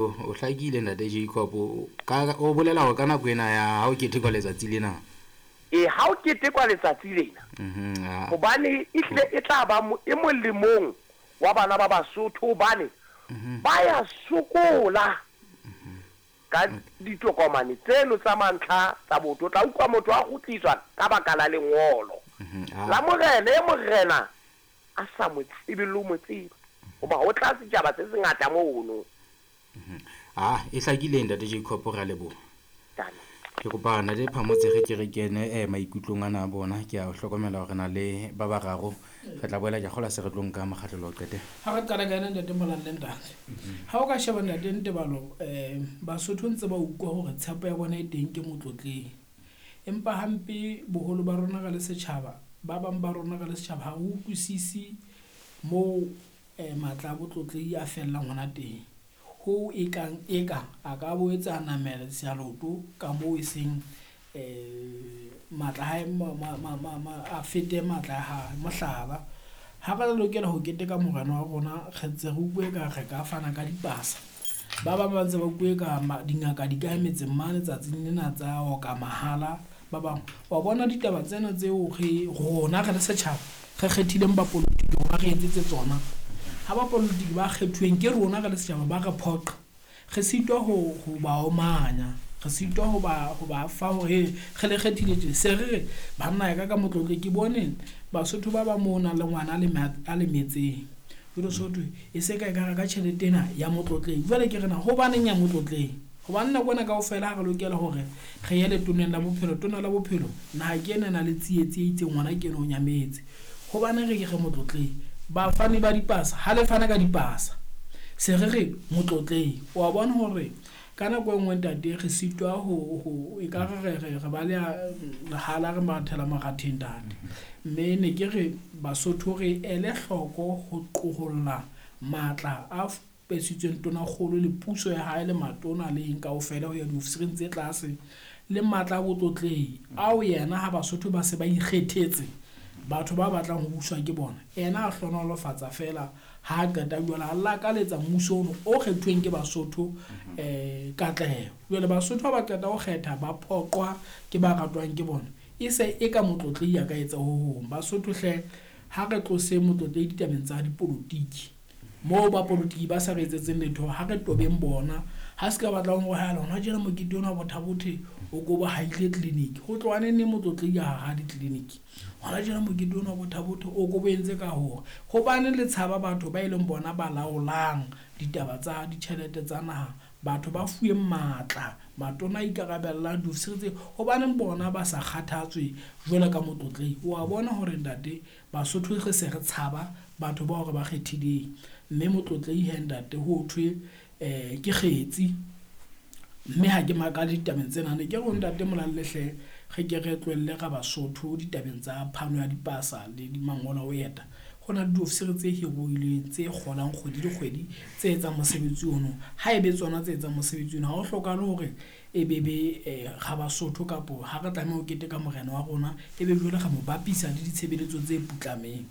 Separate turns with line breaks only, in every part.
O hlakile Ntate Jacob. Ka o bolela hore ka nako ena ya ha o ketekwa letsatsi lena.
E, ha o ketekwa letsatsi lena. Hobane ehlile e tla ba e molemong wa bana ba Basotho hobane ba ya sokola ka ditokomane tseno tsa mantlha tsa botho. O tla utlwa motho a kgutliswa ka baka la lengolo la morena, e morena a sa mo tsebe le ho mo tseba, hoba ho tla setjhaba se sengata mono.
Ah, e hlakile Ntate Jacob, re a leboha. Ke kopa Ntate Phamotse re ke re kene eh, maikutlong ana a bona. Ke a hlokomela hore na le ba bararo re tla boela ke a kgola se re tlo nka mokgahlelo o qete.
Ha re qala ka ena Ntate Molalle ntate. Ha o ka sheba Ntate Ntebalo Basotho ntse ba utlwa hore tshepo ya bona e teng ke Motlotleng. Empa hampe boholo ba rona re le setjhaba, ba bang ba rona re le setjhaba ha re utlwisise moo matla a botlotlehi a fellang hona teng. Hoo e kang eka a ka boetse a namela leoto ka moo e seng matla a hae a fete matla a hae. Mohlala, ha re lokela ho keteka morena wa rona, re ntse re utlwe eka re ka fana ka dipasa. Ba bang ba ntse ba utlwe eka dingaka di ka metseng mane tsatsing lena tsa oka mahala. Ba bang wa bona ditaba tsena tseo re rona re le setjhaba re kgethileng bapolotiki hore ba re etsetse tsona. Ha bapolotiki ba kgethuweng ke rona re le setjhaba ba re phoqa, re sitwa ho ba omanya, re sitwa ho ba fa hore re le kgethile tje. Se re re banna ya ka ka Motlotle ke bone Basotho ba bang moo o nang le ngwana a lemetseng. Jwale so thwe e se ka e ka reka tjhelete ena ya Motlotleng. Jwale ke re na hobaneng ya Motlotleng? Hobane nako ena kaofela ha re lokela hore re ye letoneng la bophelo, tona la bophelo naha ke ena e na le tsietsi e itseng, ngwana ke ena o nyametse. Hobaneng re ke re Motlotleng? Bafani ba dipasa, ha le fana ka dipasa se re re Motlotleng. Wa bona hore ka nako e nngwe ntate re sitwa ho e ka re re ba le lehala re mathela maratheng ntate. Mme ne ke re Basotho re ele hloko ho qoholla matla a pesitsweng tonakgolo le puso ya hae le matona le eng kaofela ho ya diofisireng tse tlase le matla a botlotlehi ao yena ha Basotho ba se ba ikgethetse batho ba batlang ho buswa ke bona, yena a hlohonolofatsa feela ha a qeta jwale a lakaletsa mmuso ono o kgethuweng ke Basotho katleho. Jwale Basotho ha ba qeta ho kgetha ba phoqwa ke ba ratwang ke bona, e se e ka motlotlehi a ka etsa ho hong. Basotho hle ha re tlose motlotlehi ditabeng tsa dipolotiki. Moo bapolotiki ba sa re etsetseng letho, ha re tobeng bona. Ha se ka batlang hore ha lona tjena mokete ona wa Botha-Bothe o ko ba haile clinic. Ho tloha neng neng motlotlehi a haha di-clinic. Hona tjena mokete ona wa Botha-Bothe o ko bo entse ka hore hobane le tshaba batho ba e leng bona ba laolang ditaba tsa ditjhelete tsa naha, batho ba fuweng matla, matona a ikarabellang, diofisiri tse, hobaneng bona ba sa kgathatswe jwalo ka motlotlehi. Wa bona hore ntate Basotho re se re tshaba batho bao re ba kgethileng. Mme motlotlehi he ntate ho thwe ke kgetsi. Mme ha ke makale ditabeng tsena, ne ke re ho ntate Molalle hle re ke re tlohelle ra Basotho ditabeng tsa phano ya dipasa le mangolo a ho eta. Ho na le diofisiri tse hiruilweng tse kgolang kgwedi le kgwedi tse etsang mosebetsi ono. Ha ebe tsona tse etsang mosebetsi ono, ha ho hlokahale hore e be be ra Basotho kapo ha re tlameha ho keteka morena wa rona e be jwale re mo bapisa le ditshebeletso tse putlameng.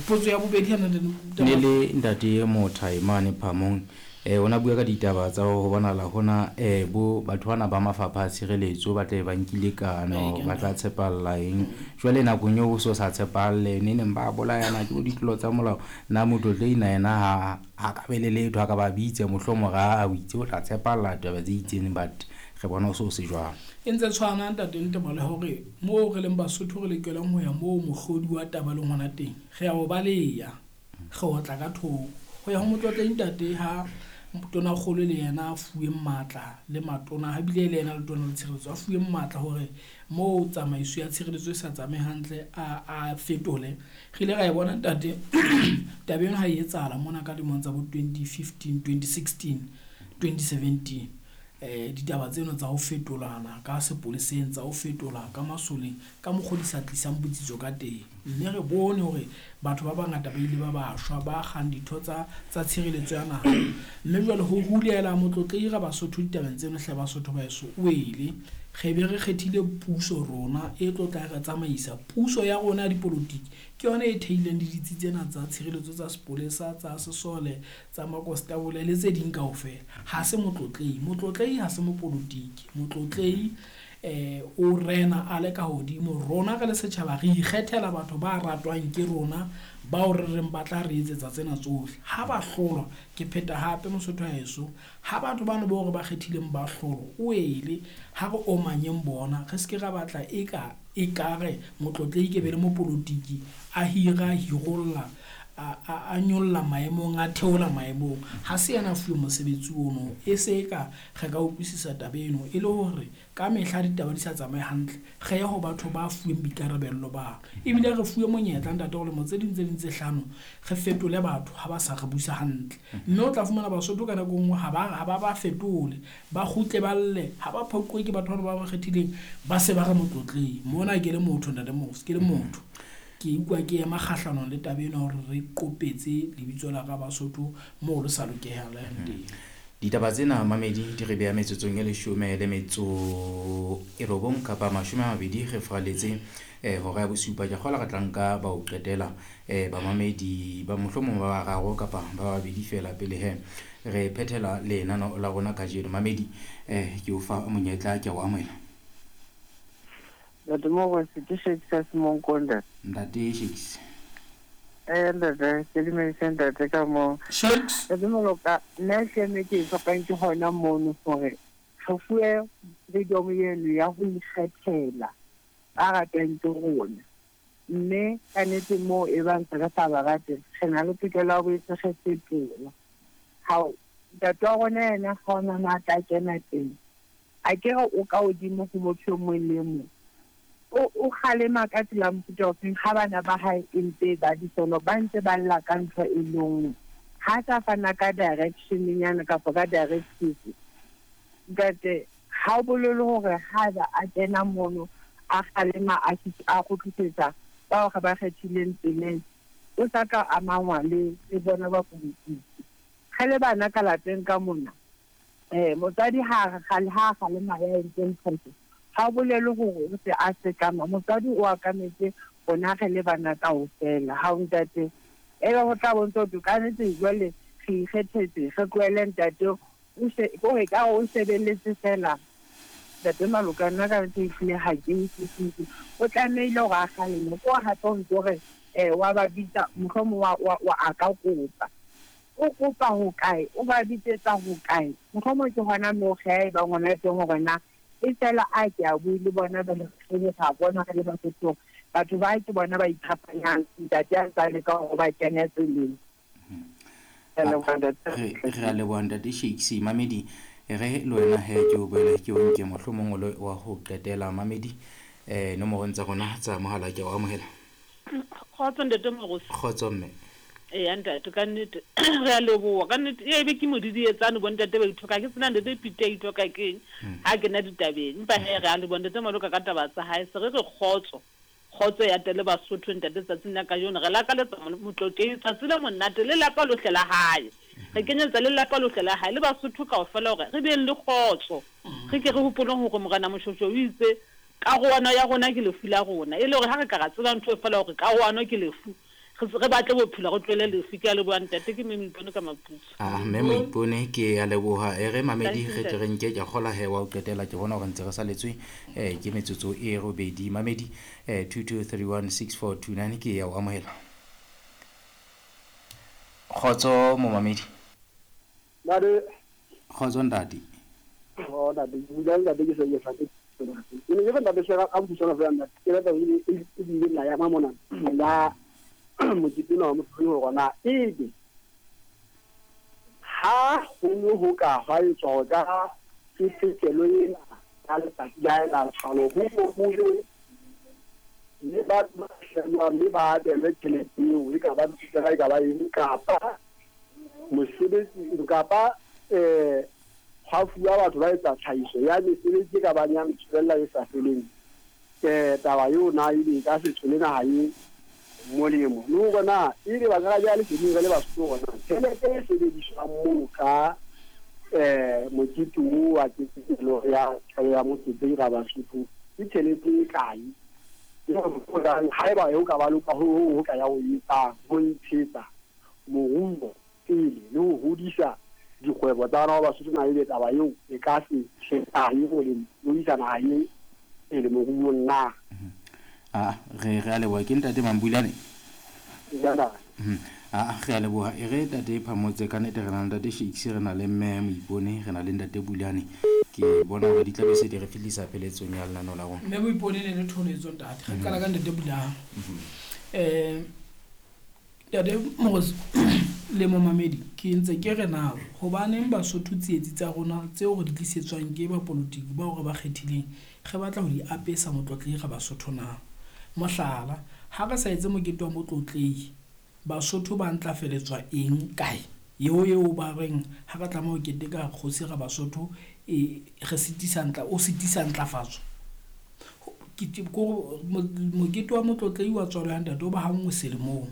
Potso ya bobedi ha
Ne le ntate Mothai mane Phamong o na bua ka ditaba tsa ho bonahala hona bo batho bana ba mafapha a tshireletso ba tle ba nkile kano ba tla tshepalla eng. Jwale nakong eo o so sa tshepahalle ne neng ba bolayana ke bo ditlolo tsa molao. Na motlotlehi na yena ha a ka be le letho a ka ba bitse mohlomong ra o itse o tla tshepalla taba tse itseng, but re bona o so se jwalo.
E ntse tshwana ntate Ntebale hore moo re leng Basotho re lokelang ho ya moo mohlodi wa taba leng hona teng, re a o baleya, re otla ka thoko. Ho ya ho motlotlehi ntate ha tonakgolo le yena a fuweng matla le matona, ha bile le yena letona la tshireletso a fuweng matla hore moo tsamaiso ya tshireletso e sa tsamaye hantle a fetole. Re ile ra e bona ntate taba eno ha e etsahala mona ka lemong tsa bo 2015, 2016, 2017. Ditaba tseno tsa ho fetolana ka sepoleseng, tsa ho fetola ka masoleng ka mokgwa di sa tlisang botsitso ka teng. Mme re bone hore batho ba bangata ba ile ba ba shwa ba kgang ditho tsa tshireletso ya naha. Mme jwale ho hulela motlotlehi ra Basotho ditabeng tseno hle Basotho ba heso o ele. Re be re kgethile puso rona e tlo tla re tsamaisa. Puso ya rona ya dipolotiki ke yona e theileng le ditsi tsena tsa tshireletso tsa sepolesa, tsa sesole, tsa makonstabole le tse ding kaofela. Ha se motlotlehi. Motlotlehi ha se mopolotiki. Motlotlehi o rena a le ka hodimo. Rona re le setjhaba re ikgethela batho ba ratwang ke rona, bao re reng ba tla re etsetsa tsena tsohle. Ha ba hlolwa, ke pheta hape Mosotho wa heso, ha batho bano bao re ba kgethileng ba hlolwa, o ele ha re omanyeng bona, re se ke ra batla eka ekare motlotlehi ke be le mopolotiki a hira, hirolla, a nyolla maemong, a theola maemong. Ha se yena a fuwe mosebetsi ono. E se eka re ka utlwisisa taba eno e le hore ka mehla ditaba di sa tsamaye hantle, re ye ho batho ba fuweng boikarabello ba. Ebile re fuwe monyetla ntate hore lemo tse ding tse ding tse hlano re fetole batho ha ba sa re busa hantle. Mme o tla fumana Basotho ka nako e nngwe ha ba ba fetole, ba kgutle ba lle, ha ba phoquwe ke batho bana ba ba kgethileng, ba se ba re motlotlehi. Mona ke le motho ntate Mose, ke le motho. Ke utlwa ke ema kgahlanong le taba ena hore re qopetse lebitso la ka Basotho moo le sa lokehang teng.
Ditaba tsena mamedi di re beha metsotsong e 19 kapa 20 re fraletse hora ya bosupa. Ke kgola re tla nka ba o qetela bamamedi ba mohlomong ba bararo kapa ba babedi fela pele he re phethela lenano la rona kajeno. Mamedi ke o fa monyetla, ke o amohela.
Ntate Mogosi, ke Shakes ya Semonkonda.
Ntate Shakes.
Ntate, ke dumedise ntate ka moo.
Shakes.
Ntate Moloka, nna ke eme ke fapang ke hona mono hore re fuwe freedom eno ya ho ikgethela ba ratang ke rona. Mme ka nnete moo e bang se re sa ba rate, re na le tokelo ya ho boetse re fetola. Hao, ntate wa rona yena ha ona matla a kena teng. A ke re o ka hodimo ho motho e mong le mong. O kgalema ka tsela mofuta ofeng ha bana ba hae e ntse ba disono, ba ntse ba lla ka ntho e le nngwe. Ha sa fana ka direction nyana kapa ka directive. Ntate, ha o bolele hore haeba a kena mono a kgalema a kgutlisetsa bao re ba kgethileng tseleng, o sa tla amangwa le bona ba politiki. Re le bana ka lapeng ka mona, motswadi ha kgalema ya entseng phoso, ha o bolele hore o se a sekama. Motswadi o akametse rona re le bana kaofela. Ha o ntate, ebe ho tla bontsha hore ka nnete jwale re ikgethetse, re tlohele ntate o ka o sebeletse fela. Ntate Maloka, nna ka nnete ehlile ha ke utlwisise. O tlamehile hore a kgaleme, ko hape o ntso re wa ba bitsa, mohlomong wa a ka kopa. O kopa ho kae? O ba bitsetsa ho kae? Mohlomong ke hona moo re e bang hona teng hore na e fela a ke a bue le bona ba le re ra bona re le Basotho. Batho ba ke bona ba iphapanyang, ntate a ntsa leka hore ba kene tseleng.
Re a leboha ntate Shakes. Mamedi, re le wena he ke o boele ke o nke mohlomong o le wa ho qetela. Mamedi, nomorong tsa rona tsa mohala ke o amohela.
Kgotso ntate Mogosi.
Kgotso mme.
Eya ntate, ka nnete re a leboha. Ka nnete e be ke modidietsane bo ntate ba ithoka. Ke sena ntate Pite a ithoka keng ha kena ditabeng. Empa he re a leboha ntate Maloka ka taba tsa hae. Se re re kgotso. Kgotso ya tele Basotho ntate tsatsing la kajeno. Re lakaletsa motlotlehi tsatsi le monate le lapa lohle la hae. Re kenyetsa le lapa lohle la hae le Basotho kaofela hore re beng le kgotso. Re ke re hopoleng hore Morena Moshoeshoe o itse karohano ya rona ke lefu la rona. E le hore ha re ka ra tseba ntho e fela hore karohano ke lefu, re batle bophelo re tlohele lefu. Ke a leboha ntate, ke mme Moipone ka Maputsu.
Mme Moipone, ke a leboha. E re mamedi re tle re nke ke kgola he wa o qetela, ke bona hore ntse re saletswe ke metsotso e robedi. Mamedi 22316429 ke ya o amohela. Kgotso momamedi.
Ntate.
Kgotso ntate.
Oh ntate, ke ntate ke se ke sa ke. Ke ne ke ntate se a butsana fela ntate. Ke batla e ile la ya mona. La mokete wa motho hore na ebe ha ho ho ka hwa etswa ka ketekelo ena ya letsatsi la la tshwalo ho le ba mme ba abelwe tjhelete eo e ka ba e ka ba eng kapa mosebetsi kapa hwa fuwa batho ba etsa tlhahiso ya mesebetsi e ka bang ya metswella e sa feleng. Taba eo na ebe e ka se tswele naha e molemo le hore na ebe ba ka ja leseding re le Basotho hore na tjhelete e sebediswang moo ka Mokete o wa ketekelo ya tswalo ya Motlotlegi Rabasotho ke tjhelete e kae? Haeba ho ka ba loka ho ho ka ya ho etsang ho ntshetsa moruo pele le ho hodisa dikgwebo tsa bana ba Basotho, na ebe taba eo e ka se hlekae ho le ho isa naha e pele moruong na?
A re a leboha. Ke ntate Mambulane. A re a leboha. E re tate Phamotse, ka nnete re na le ntate Shakes, re na le mme Moipone, re na le ntate Bulane. Ke bona hore di tla be se di re fihlisa pheletsong ya lenaneo la rona.
Mme Moipone ne le tholetso ntate. Re qala ka ntate Bulane. Ntate Morosi le momamedi, ke ntse ke re na hobaneng Basotho tsietsi tsa rona tseo re di tlisetswang ke bapolotiki bao re ba kgethileng re batla ho di apesa Motlotlegi ga Basotho na? Mohlala, ha re sa etse mokete wa Motlotlegi, Basotho ba ntlafeletswa eng kae? Eo ba reng ha re tlameha ho keteka kgosi ga Basotho e re sitisa ntla o sitisa ntlafatso. Mokete wa Motlotlegi wa tswalo ya ntate o ba ha nngwe selemong.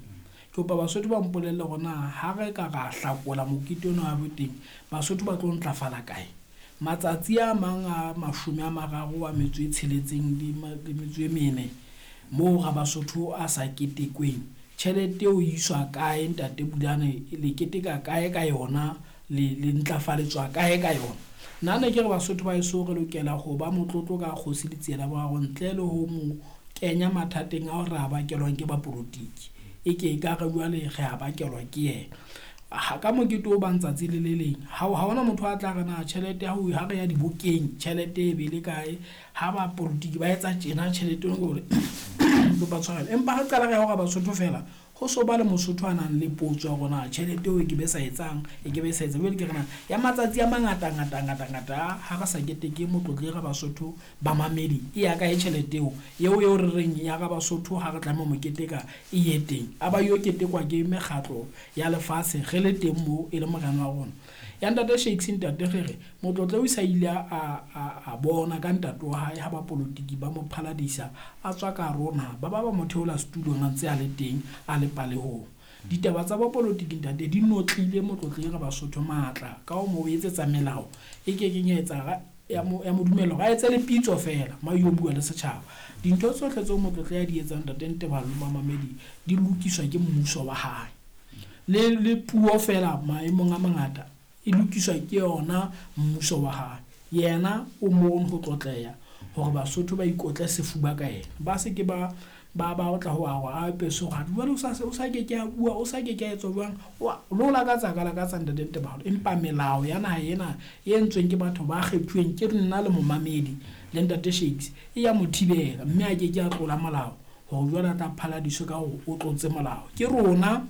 Ke kopa Basotho ba mpolelle hore na ha re ka ra hlakola mokete ona wa boteng, Basotho ba tlo ntlafala kae? Matsatsi a mang a 36 le metso e mene moo ga Basotho a sa ketekweng, tjhelete eo e iswa kae ntate Bulane? Le keteka kae ka yona? Le ntlafaletswa kae ka yona? Nna ne ke re Basotho ba heso re lokela ho ba motlotlo ka kgosi Letsie la Boraro ntle le ho mo kenya mathateng ao re a bakelwang ke bapolotiki. E ke e ka re jwale re a bakelwa ke yena. Ha ka mokete o bang tsatsi le le leng, ha hona motho a tla re na tjhelete ha re ya dibokeng tjhelete e be le kae, ha bapolotiki ba etsa tjena tjhelete eno ke hore kopa tshwarelo. Empa ha qala re ya hore Basotho fela ho so ba le Mosotho a nang le potso ya hore na tjhelete eo e ke be sa etsang, e ke be sa etsa. Jwale ke re na ya matsatsi a mangata ngata ngata ngata ha re sa keteke Motlotlegi ga Basotho ba mamedi, e ya kae tjhelete eo? Eo re reng ya ga Basotho ha re tlameha ho mo keteka e ye teng. A ba yo ketekwa ke mekgatlo ya lefatshe re le teng moo e le morena wa rona. Ya ntate Shakes, ntate re re Motlotlegi o sa ile a bona ka ntate wa hae ha bapolotiki ba mo phaladisa a tswa ka rona, ba ba mo theola setulong a ntse a le teng a le palehong. Ditaba tsa bapolotiki ntate di notlile Motlotlegi ga Basotho matla ka ho mo etsetsa melao e kekeng ya etsa ya mo dumella hore a etse le pitso fela ma yo bua le setjhaba. Dintho tsohle tseo Motlotlegi a di etsang ntate Ntebalo le bamamedi di lokiswa ke mmuso wa hae. Le puo fela maemong a mangata e lokiswa ke yona mmuso wa hae. Yena o mono ho tlotleha hore Basotho ba ikotle sefuba ka yena. Ba se ke ba tla ho a peso ha jwale o sa ke ke a bua, o sa ke ke a etsa jwang, lo lakatsa ka lakatsa ntate Ntebalo. Empa melao ya naha ena e entsweng ke batho ba kgethuweng ke nna le momamedi le ntate Shakes e ya mo thibela, mme a ke ke a tlola molao hore jwale a tla phaladiswe ka hore o tlotse molao. Ke rona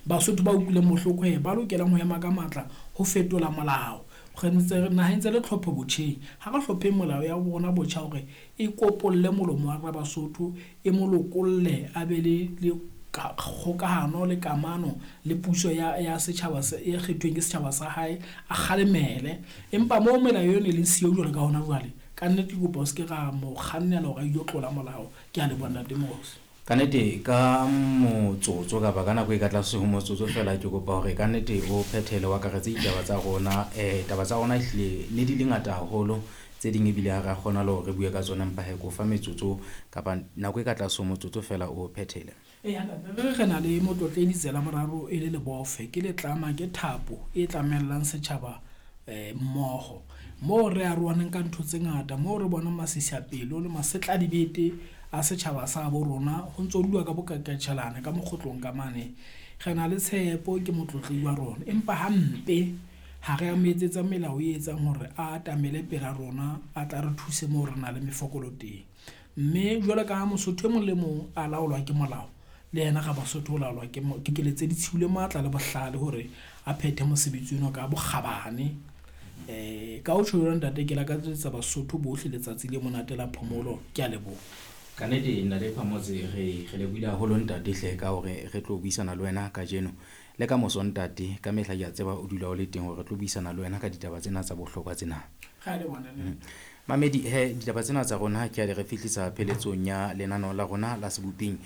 Basotho ba utlwileng bohloko he ba lokelang ho ema ka matla ho fetola molao. Re ntse naheng tse le tlhopho botjheng, ha re hlopheng molao ya rona botjha hore e kopolle molomo wa rona Basotho, e mo lokolle a be le kgokahano le kamano le puso ya setjhaba e kgethweng ke setjhaba sa hae, a kgalemele. Empa moo melao eno e leng siyo jwalo ka hona jwale, ka nnete ke kopa o se ke ra mo kgannela hore a ilo tlola molao. Ke a leboha ntate Morosi.
Ka nnete ka motsotso kapa ka nako e ka tlase ho motsotso fela, ke kopa hore ka nnete o phethele o akaretse ditaba tsa rona. Taba tsa rona ehlile ne di le ngata haholo, tse ding ebile ha re a kgona le hore re bue ka tsona, empa he ko fa metsotso kapa nako e ka tlase ho motsotso fela o phethele.
Re na le Motlotlegi Letsie la Boraro e le lebofe, ke letlama, ke thapo e tlamellang setjhaba mmoho. Moo re arohaneng ka ntho tse ngata, moo re bonang masisapelo le masetladibete a setjhaba sa bo rona ho ntso dulwa ka bokakatjhelana ka mokgotlong ka mane. Re na le tshepo ke Motlotlegi wa rona, empa hampe ha re a mo etsetsa melao e etsang hore a atamele pela rona, a tla re thuse moo re na le mefokolo teng. Mme jwalo ka ha Mosotho e mong le mong a laolwa ke molao, le yena ga Basotho o laolwa ke keletso ditshiu le matla le bohlale hore a phethe mosebetsi ono ka bokgabane. Ka ho tjho jwalo ntate, ke lakatsetsa Basotho bohle letsatsi le monate la phomolo. Ke a leboha.
Ka nnete ntate Phamotse, re lebohile haholo ntate hle ka hore re tlo buisana le wena kajeno le ka moso ntate. Ka mehla ke a tseba o dula o le teng hore re tlo buisana le wena ka ditaba tsena tsa bohlokwa tsena.
Re a leboha ntate.
Mamedi he ditaba tsena tsa rona ke a di re fihlisa pheletsong ya lenaneo la rona la seboping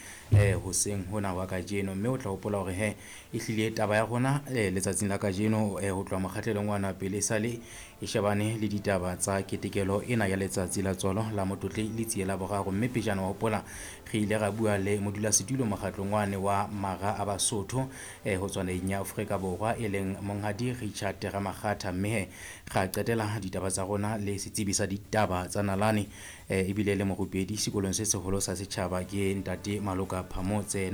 hoseng hona wa kajeno, mme o tla hopola hore he ehlile taba ya rona letsatsing la kajeno ho tloha mokgahlelong wa pele e sale e shebane le ditaba tsa ketekelo ena ya letsatsi la tswalo la Motlotlehi Letsie la Boraro. Mme pejana wa hopola re ile ra bua le modulasetulo mokgatlong wane wa Mara a Basotho ho tswa naheng ya Afrika Borwa e leng Monghadi Richard Ramakgatha, mme he ra qetela ditaba tsa rona le setsebi sa ditaba tsa nalane ebile le morupedi sekolong se seholo sa setjhaba ke Ntate Maloka Phamotse.